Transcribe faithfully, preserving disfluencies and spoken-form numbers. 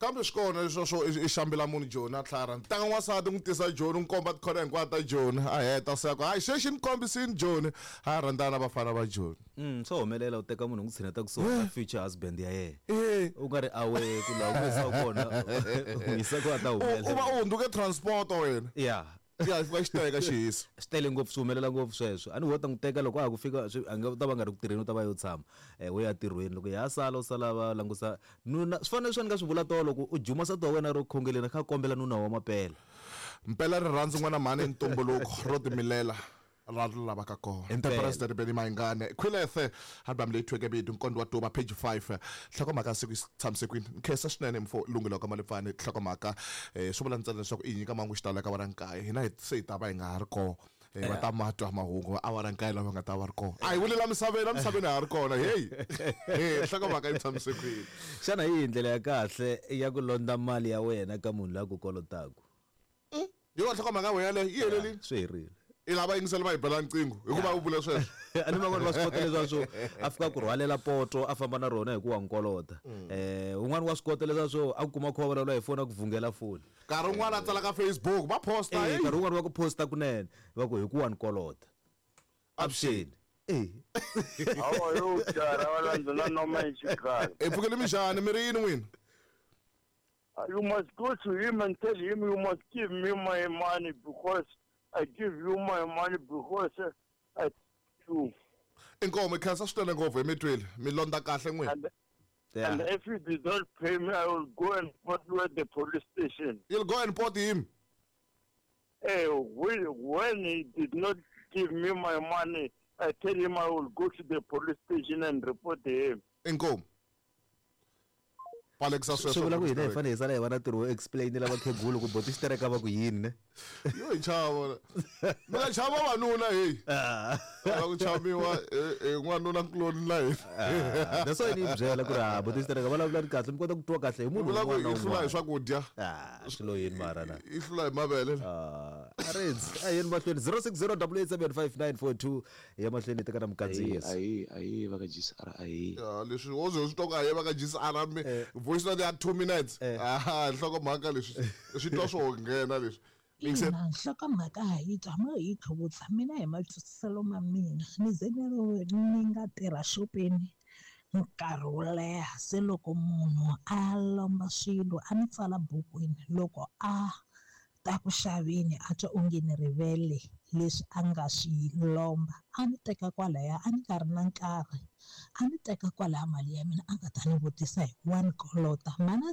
Kambe swi kona leswo swo i xambela munhu Joni a tlhara ntanga n'wansati n'wi tisa Joni n'wi komba tikhona hinkwato ta Joni a heta se ku hayi xexi ni kombisini Joni a rhandzana na vafana va Joni. Mm swo humelela u teka munhu n'wi tshineta kusuhi na future husband ya yena. Eh. U nga ri awe ku laha u n'wi yisa kona u n'wi yisa ku a ta U u va humelela. u hundzuke transport wena. Ya. Ya fika xi teka xihisa. Swi tele ngopfu, swi humelela ngopfu sweswo. A ni wo ta n'wi teka loko a ha ku fika swi a nga u ta va nga ri ku tirheni, u ta va yo tshama eh wo ya tirhweni, loko ya sala u sala va langusa nuna. Swi fanele swi ni nga swi vula tolo ku u juma nsati wa wena ro khongeleni kha kombela nuna wa mapela. Mpela rirhandzu n'wana mhani ntumbuluko ro timilela ra ri lavaka kona. The Impela. President Benny Mayengani Khwilethe album leyi thweke vito Nkondo wa Tuva page five. Nhlokomhaka siku yi tshamisekwini nkhensa swinene mfo lunghelo ka Malipfani. Nhlokomhaka eh swi vula ntsena leswaku i nyika mangu xitalo ka awara nkaye, hina hi se hi ta va hi nga ha ri kona. Eh, va ta ma twa mahungu awara nkaye lava nga ta va ri kona. A hi vulela misaveni, misaveni ha ri kona. Hey hey nhlokomhaka yi tshamisekwini. Xana hi yihi ndlela ya kahle ya ku londza mali ya wena ka munhu loyi a ku kolotaka? Hi yona nhlokomhaka ya wena yaleyo yi helelile? Swi herile. I lava yingisela va hi bela nqingho hikuva u vule sweswo. A ni van'wani va swi kota leswaku swo a fika ku rhwalela poto a famba na rona hi ku wa nkolota. Eh un'wana wa swi kota leswaku swo a ku kuma kha vulavula hi foni a ku vhungela foni. Nkarhi wun'wana a tsala ka Facebook va posta. Eh hey. Nkarhi wun'wana va ku posta kunene va ku hi ku wa nkolota. Avuxeni. Eh Hawa yo jara wala na noma ichikhala. I pfukele minjhani mi ri yini n'wina? You must go to him and tell him you must give me my money because I give you my money because I you. Inkomo khensa swinene ngopfu hi mi twile mi londza kahle n'wina. And, Yeah. and if you did not pay me, I will go and put you at the police station. You'll go and port him. Hey, when, when he did not give me my money, I tell him I will go to the police station and report him. Inkomo palekisa swi vula ku hina hi sweswo. fanele hi sala hi va na ntirho wo explainela vakhegulu ku boti xitereka va ku yini ne. Yo hi chava mi nga chava vanuna hey. Lava ku chaviwa hi n'wanuna kuloni la hina. That's why ni yi byela ku ri ha boti xitereka vulavula ni kahle mi kota ku twa kahle hi munhu vula ku un'wana na yi hlula hi un'wana. swakudya. Ah swi lo yini mara na. Yi hlula hi mavele. Ah a rindzi a yeni mahlweni zero six zero double eight seven five nine four two ya mahlweni hi teka na mukandziyiso. Ayi ayi va ka G S R ayi. Ya leswi wo ze swi twa ku a ye va ka G S R mi voice note ya two minutes. Ah nhlokomhaka leswi swi twa swo nghena leswi. Ina, nhlokomhaka ha yi twa mo hi tlhuvutsa mina hi matwisiselo ma mina ni ze ni ri ni nga tirha xopeni nkarhi wo leha se loko munhu a lomba swilo a ni tsala bukwini loko a ta ku xaveni a twa onge ni rivele leswi a nga swi lomba a ni teka kwalaya a ni nga ri na nkarhi a ni teka kwalaya mali ya mina a nga ta ni vutisa hi ku wa ni kolota mana.